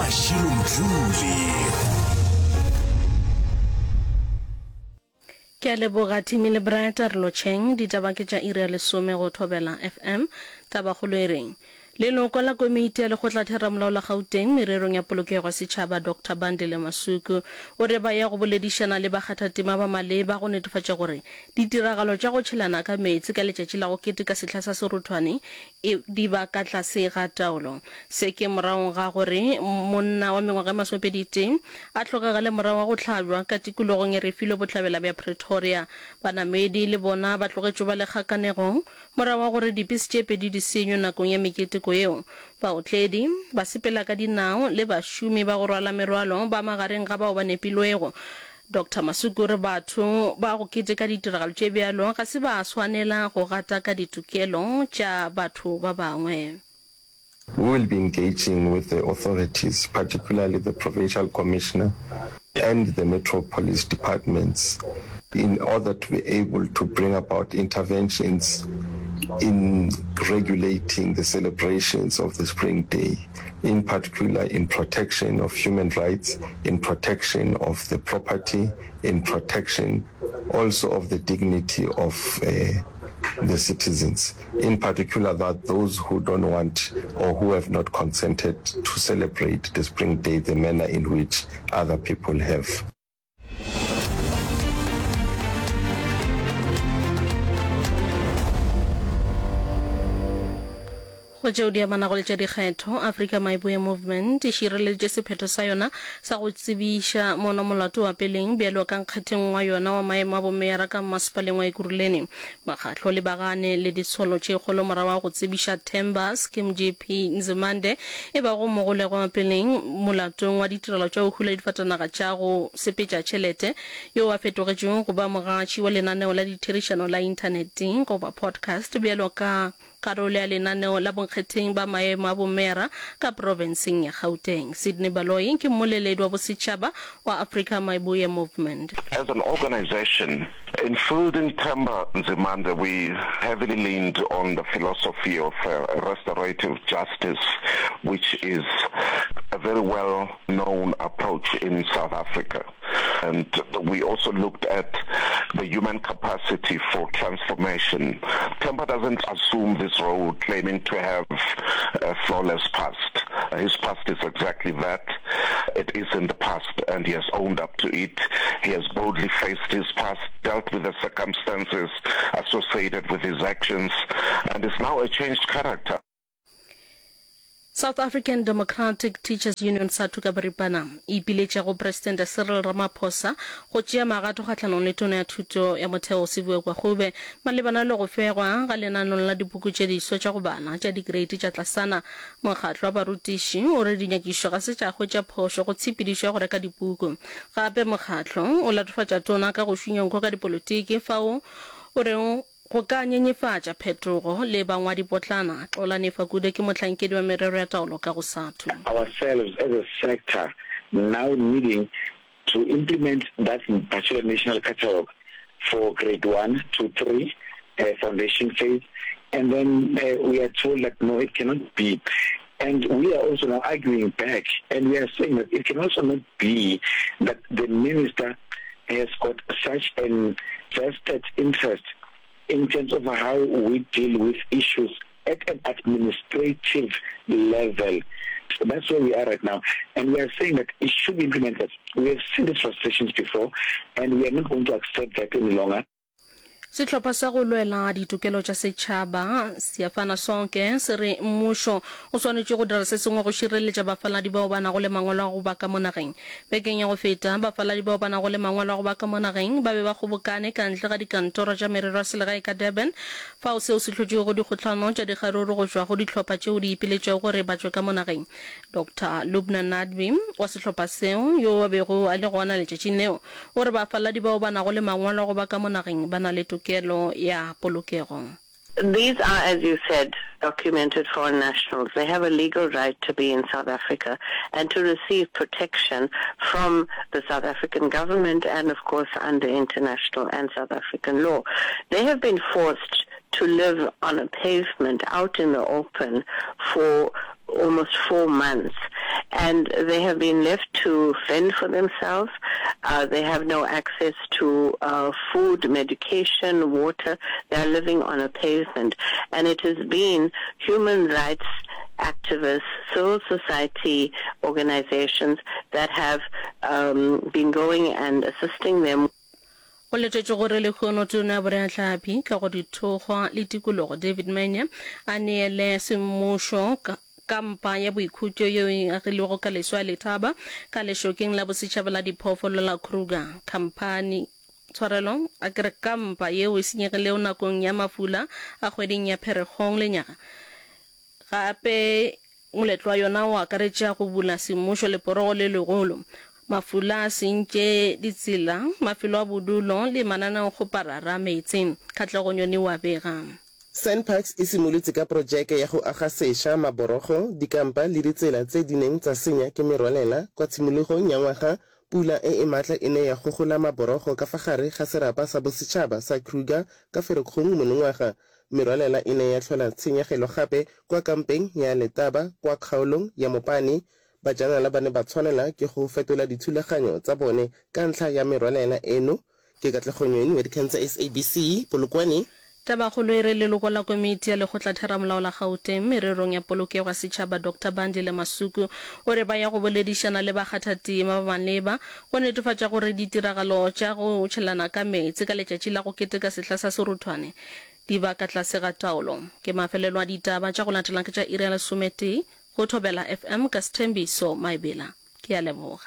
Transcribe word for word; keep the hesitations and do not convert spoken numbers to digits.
Mashilo Mdluli. Ke a leboga Timmy le Bright a re lotšheng. Ditaba ke tša iri ya lesome go Thobela F M. Tabakgolo e reng? Leloko la komiti ya lekgotlatheramolao la Gauteng mererong ya polokego ya setšhaba Doctor Bandile Masuku o re ba ya go boledišana le bakgathatema ba maleba go netefatša gore ditiragalo tša go tšhelana ka meetse ka letšatši la go keteka sehla sa seruthwane e di ba ka tlase ga taolo. Se ke morago ga gore monna wa mengwaga e masomepedi-tee a hlokagale morago ga go hlabjwa ka tikologong ya Refilwe bohlabela bja Pretoria. Banamedi le bona ba tlogetšwe ba le kgakanegong morago ga gore dipese tše pedi di senywe nakong ya meketeko yeo. Baotledi, basepela ka dinao le bašomi ba go rwala merwalo ba magareng ga bao ba nepilwego. Doctor Masuku o re batho ba go keteka ditiragalo tše bjalo ga se ba swanela go gataka ditokelo tša batho ba bangwe. We will be engaging with the authorities, particularly the provincial commissioner and the metro police departments, in order to be able to bring about interventions in regulating the celebrations of the Spring Day, in particular in protection of human rights, in protection of the property, in protection also of the dignity of uh, the citizens, in particular that those who don't want or who have not consented to celebrate the Spring Day the manner in which other people have. Go tšeo di amanago le tša dikgetho, Afrika Mayibuye Movement e šireleditše sephetho sa yona sa go tsebiša mono molato wa peleng bjalo ka nkgetheng wa yona wa maemo a bomeyara ka mmasepaleng wa Ekurhuleni. Mokgatlo o lebagane le ditsholo tše kgolo morago ga go tsebiša Themba Skim J P Nzimande e bago mogolegwa wa peleng molatong wa ditirelo tša go hula difatanaga tša go sepetša tšhelete yo a fetogetšego go ba mogatši wa lenaneo la ditherišano la inthaneteng goba podcast bjalo ka karolo ya lenaneo la bonkgetheng ba maemo a bomeyara ka profenseng ya Gauteng. Sydney Baloyi ke mmoleledi wa bosetšhaba wa Afrika Mayibuye Movement. As an organization, in fielding Themba Nzimande, we heavily leaned on the philosophy of uh, restorative justice, which is a very well-known approach in South Africa. And we also looked at the human capacity for transformation. Themba doesn't assume this role claiming to have a flawless past. His past is exactly that. It is in the past, and he has owned up to it. He has boldly faced his past, dealt with the circumstances associated with his actions, and is now a changed character. South African Democratic Teachers Union SADTU ka boripana e ipiletša go Presidente Cyril Ramaphosa go tšea magato kgahlanong le Tona ya Thuto ya Motheo Siviwe Gwarube malebana le go fegwa ga lenanong la dipuku tše diswa tša go bala tša dikreiti tša tlasana. Mokgatlo wa barutiši o re dinyakišo ga se tša hwetša phošo go tshepedišo ya go reka dipuku. Gape mokgatlo o latofatša tona ka go šunya nko ka dipolotiki fao o rego go ka nyenyefatša phetogo le bangwadipotlana. Xolani Fakude ke mohlankedi wa merero ya taolo ka go SADTU. Ourselves as a sector now needing to implement that particular national catalogue for grade one to three, uh, foundation phase, and then uh, we are told that no, it cannot be. And we are also now arguing back, and we are saying that it can also not be that the minister has got such an vested interest in terms of how we deal with issues at an administrative level. So that's where we are right now. And we are saying that it should be implemented. We have seen these frustrations before, and we are not going to accept that any longer. Sehlopha sa go lwela ditokelo tša setšhaba Siyafana Sonke se re mmušo o swanetše go dira se sengwe go šireletša bafaladi bao ba nago le mangwalo a go ba ka mo nageng. Bekeng ya go feta, bafaladi bao ba nago le mangwalo a go ba ka mo nageng ba be ba kgobokane ka ntle ga dikantoro tša merero ya selegae ka Durban, fao seo se hlotšego dikgohlano tša dikgaruru go tšwa go dihlopha tšeo di ipiletšego gore ba tšwe ka mo nageng. Doctor Lubna Nadvi wa sehlopha seo, yo a bego a le gona letšatšing leo, o re bafaladi bao ba nago le mangwalo a go ba ka mo nageng ba na le tokelo ya polokego. These are, as you said, documented foreign nationals. They have a legal right to be in South Africa and to receive protection from the South African government and, of course, under international and South African law. They have been forced to live on a pavement out in the open for almost four months and they have been left to fend for themselves. Uh, they have no access to uh, food, medication, water. They are living on a pavement. And it has been human rights activists, civil society organizations that have um, been going and assisting them. Go letetšwe gore lehono Tona ya Boreahlapi, Kago Dithokgwa le Tikologo David Manya a neele semmušo kampa ya boikhutšo yeo e agilwego ka leswa ya Letaba ka lešokeng la bosetšhaba la diphoofolo la Kruger. Khamphani, tshwarelo, a ke re kampa yeo e senyegilego nakong ya mafula a kgweding ya Pherekgong lenyaga Gape moletlo wa yona o akaretša go bula semmušo leporogo le legolo, mafula a sentše ditsela, mafelo a bodulo le mananeokgoparara a meetse. Katlego Nyoni o a bega. SANParks e simolotse ka porojeke ya go aga sešwa maborogo, dikampa le ditsela tse di neng tsa senya ke merwalela kwa tshimologong ya ngwaga. Pula e e maatla e ne ya gogola maborogo ka fa gare ga serapa sa bosetšhaba sa Kruger ka Ferikgong monongwaga. Merwalela e ne ya hlola tshenyegelo gape kwa kampeng ya Letaba kwa kgaolong ya Mopani. Bajanala ba ne ba tshwanela ke go fetola dithulaganyo tsa bone ka ntlha ya merwalela eno. Ke Katlego Nyoni wa dikgang tsa SABC, Polokwane. Tabakgolo e re leloko la komiti ya lekgotlatheramolao la Gauteng mererong ya polokego ya setšhaba Doctor Bandile Masuku o re ba ya go boledišana le bakgathatema ba maleba go netefatša gore ditiragalo tša go tšhelana ka meetse ka letšatši la go keteka sehla sa seruthwane di ba ka tlase ga taolo. Ke mafelelo a ditaba tša go latela ke tša iri ya lesometee go Thobela FM ka Sthembiso Maebela. Ke a leboga.